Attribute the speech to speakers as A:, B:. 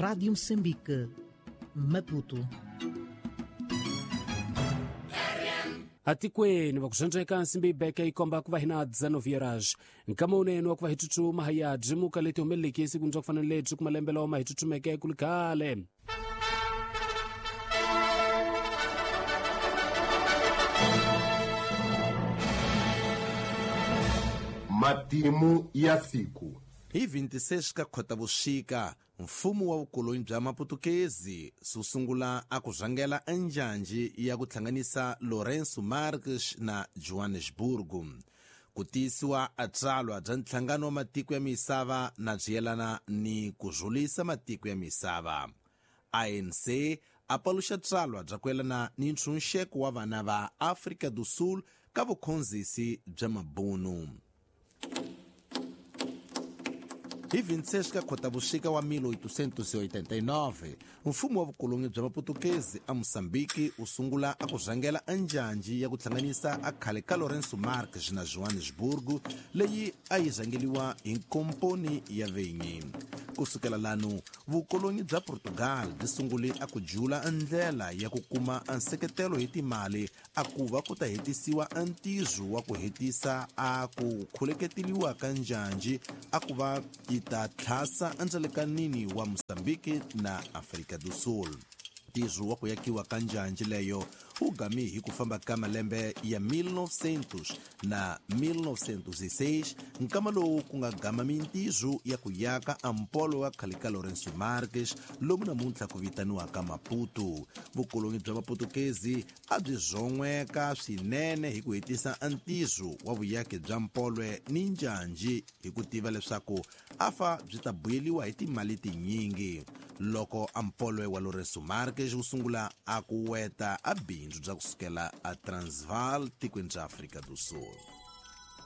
A: Rádio Moçambique, Maputo.
B: Atikweni va ku zvandzeka nsimbi yi beke yi komba ku va hina 19 horas nkama wunene wa ku va hi tsutsuma ha ya byimuka leti humeleleke esikwini bya ku fana ni lebyi ku malembe lawa ma hi tsutsumeke ku li khale.
C: Matimu ya siku.
D: Hi 26 ka Khotavuxika, mfumo wa vukoloni bya Maputukezi wu sungula a ku rhangela enjanji ya ku hlanganisa Lourenço Marques na Johannesburg. Ku tiyisiwa a tsalwa bya nhlangano wa matiko ya misava na byi yelana ni ku rhulisa matiko ya misava. ANC a paluxa tsalwa bya ku yelana ni ntshunxeko wa vana va Afrika do Sul ka vukhonzisi bya mabunu. Hi 26 ka Khotavuxika wa 1889, mfumo wa vukoloni bya Maputukezi a Mozambique wu sungula a ku rhangela enjanji ya ku hlanganisa a khale ka Lourenço Marques na Johannesburg, leyi a yi rhangeliwa hi komponi ya venyi. Ku sukela lanu, vukoloni bya Portugal byi sungule a ku jula ndlela ya ku kuma nseketelo hi timali a ku va ku ta hetisiwa ntirho wa ku hetisa a ku khuleketeliwa ka njanji a ku va yi ta tlhasa endzelekanini wa Mozambique na Afrika do Sul. Ntirho wa ku yakiwa ka njanji leyo wu gami hi ku famba ka malembe ya 1900 na 1906, nkama lowu ku nga gama mintirho ya ku yaka a mpolo wa khale ka Lourenço Marques lomu namuntlha ku vitaniwaka Maputo. Vukoloni bya Maputukezi a byi zon'weka swinene hi ku hetisa ntirho wa vuyaki bya mpolwe ni njanji hi ku tiva leswaku afa byi ta buyeliwa hi timali tinyingi. Loko a mpolwe wa Lourenço Marques wu sungula a ku weta a bindzu bya ku sukela a Transvaal tikweni bya Afrika do Sul.